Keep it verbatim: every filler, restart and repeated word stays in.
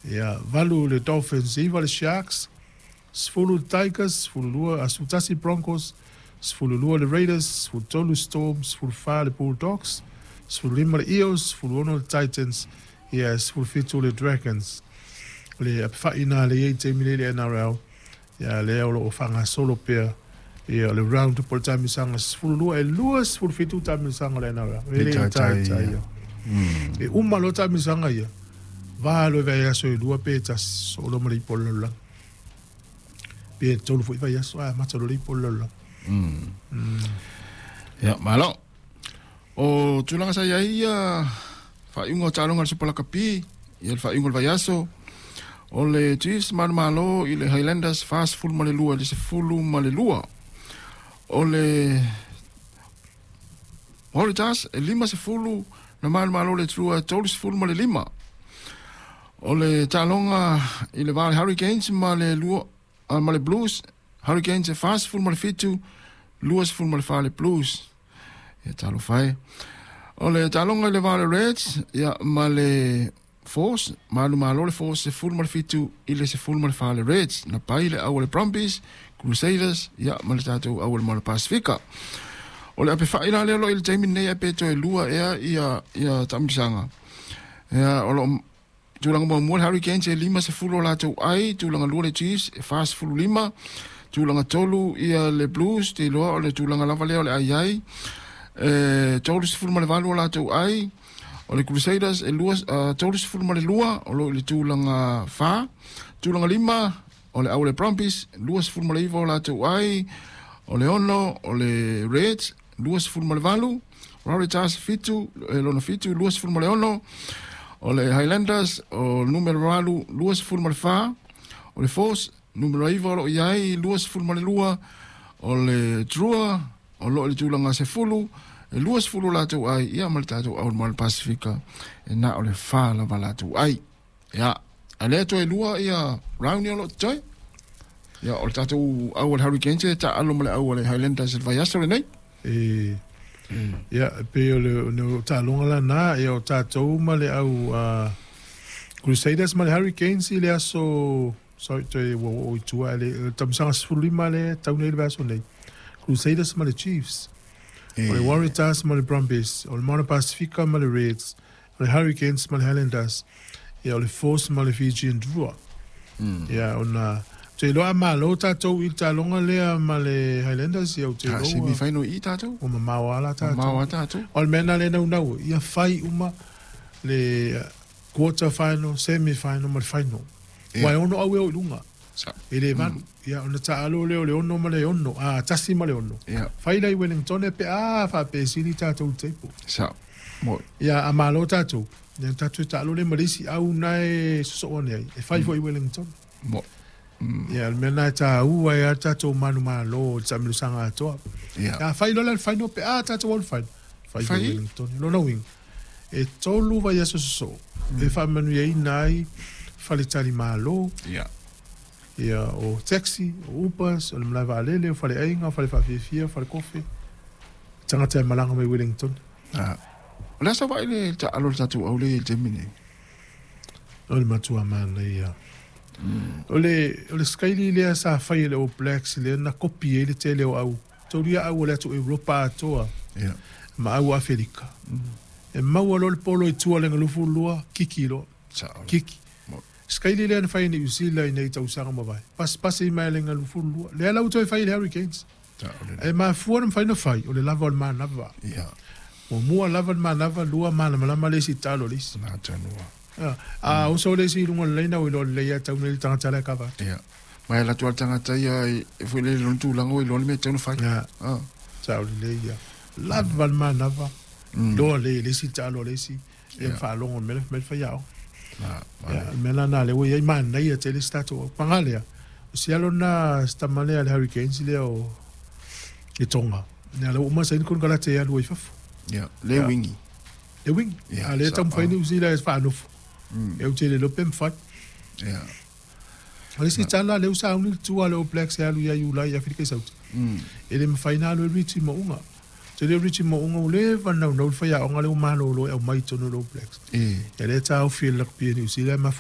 Ia, valu le Dolphins, iva le Sharks, sefulu le Tigers, sefulu lua, a sefulu tasi Broncos, sefulu lua le Raiders, sefulu tolu Storm, sefulu fa le Bulldogs, sefulu lima le Eels, sefulu ono le Titans, ia, sefulu fitu le Dragons. O le apefa'i na le iai taimi nei le N R L, ia, lea o loo faagasolo pea, ia, o le round po o le taamilosaga sefulu lua e lua sefulu fitu taamilosaga o le N R L. E le taitai ia. E uma loa taamilosaga ia, valo e vaiaso e lua pe tasi, solo ma le ipo o le lalolagi. Pe tolu foi vaiaso, a amata loa le ipo o le lalolagi. Ia, malo. O tulaga sa iai ia faaiuga o taaloga a le Super Lakapi, ia le faaiuga o le vaiaso, o le Chiefs manumalo i le Highlanders fasefulu ma le lua i le sefulu ma le lua. O le Waratahs e lima sefulu na manumalo le Drua e tolu sefulu ma le lima. O le taaloga i le va o le Hurricanes ma le lua ma le Blues, Hurricanes e fasefulu ma le fitu, lua sefulu ma le fa le Blues. Ia talofa e. O le taaloga i le va o le Reds ia ma le Force, manumalo le Force sefulu ma le fitu i le sefulu ma le fa le Reds. Na pai le au o le Brumbies, Crusaders, ia ma le tatou au o le Moana Pasifika. O le apefa'i la lea o loo i le taimi lenei ae pe toe lua ea ia ia taamilosaga. Ia o loo tulaga muamua le Hurricanes e lima sefulu o latou ai, tulaga lua le Chiefs e fa sefulu lima, tulaga tolu ia le Blues, te iloa o le tulaga lava lea o le ai ai, e tolu sefulu ma le valu o latou ai, o le Crusaders e lua, uh, tolu sefulu ma le lua, o loo i le tulaga fa, tulaga lima, o le au o le Brumbies, lua sefulu ma le iva o latou ai, o le ono, o le Reds, lua sefulu ma le valu, Waratahs fitu, e lona fitu, lua sefulu ma le ono, o le Highlanders, o le numero valu, lua sefulu ma le fa, o le Force, numero iva o loo iai, lua sefulu ma le lua, o le Drua, o loo i le tulaga sefulu, e lua sefulu latou ai, ia ma le tatou au o le Moana Pasifika, e na o le fa lava latou ai. Ia, a lea toe lua ia round ia o loo totoe. Ia, o le tatou au o le Hurricanes e taalo ma le au o le Highlanders i le vaiaso lenei. E, ia, pei o le o taaloga lana, ia o tatou ma le au uh, Crusaders ma le Hurricanes i le aso, sorry, toe ua oo i tua, le tausaga sefulu lima le tau nei le vaiaso nei. Crusaders ma le Chiefs, o le Waratahs ma le Brumbies, o le Moana Pasifika ma le Reds, o le Hurricanes ma le Highlanders, ia o le Force ma le Fijian Drua. Ia, ona te iloa a malo tatou i le taaloga lea ma le Highlanders, ia ou te Ha, iloa semi final i tatou. Ua mamao lava la tatou. Mamao lava tatou. O le mea lena lea e naunau, ia fai uma le quarter final, semi final ma le final. Ia. Ua e ono au e o i luga. Sa. E le valu. Ia, ona taalo lea o le ono ma le ono, a, tasi ma le ono. Ia. Fai la i Wellington e pe a faapesili tatou i le table. Sa. Mo. Ia, a malo tatou. Ia, tatou e taalo le ma le isi au na e sosoo ane ai. E fai foi i Wellington. Mo. Ia, le mea lena e taua ai a tatou manumalo o le taamilosaga atoa. Ia. Ia, fai loa la le final pe a tatou au le final. Fai Fai. foi i Wellington. Lona uiga, e tolu vaiaso sosoo. E faamanuiaina ai faletalimalo. Ia. Ia, o taxi, o Ubers, o le malae vaalele, o faleaiga, o fale faafiafia, fale kofe. Tagata e malaga mai Wellington. Ah. O le a sa vaai le taalo o le tatou au le i le taimi nei? O le matua manaia. O le, o le skaili lea sa fai e le All Blacks lea na kopi ai le tele o au. Taulia au o le atu Europa atoa. Ia. Ma au Aferika. E maua loa le polo i tua le galufu lua, kiki loa. Sa. Kiki. Mo. Skaili lea na fai i New Zealand i nei tausaga mavae. Pasipasi i mai le galufu lua. Lea la ua toe fai i le Hurricanes. Sa o le. E mafua na mafai na fai, o le lava o le manava. Ia. Muamua lava le manava, lua malamalama le isi talo le isi. Na tanua. A, a oso le isi i luga o le laina o iloa lelei a tau nei le tagata la e kava atu. Ia. Ma e latou a le tagata ia e foi le lona tulaga o iloa le mea e tatau ona fai. Ia. Ah. Sa o lelei ia. Lava le manava. Loa le le isi talo le isi. Ia Ia. faalogo mele mele fai ao. Na, ma Ia, le mea lena lea ua iai manaia tele si tatou au. Paga lea, o si alo na si tama lea le Hurricanes lea o le Tonga. Ia, la ua uma saini konekarate e alu ai fafo. Ia, le Ia. wingi. Le wingi. Ia, A lea sa- taumafai ah. New Zealand e faanofo. E ou te le iloa pe mafai. Ia. O le isi tala lea ua sauni le tua le All Blacks e alu ia Iulai i Aferika i Sauti. Mm. E le mafai na alu e Richie Mo'unga. Te leo Richie Mo'unga ua leva ona naunau le faiaoga lea ua malolo e aumai i totonu o le All Blacks. E. Ia lea taofi e le rugby a New Zealand ma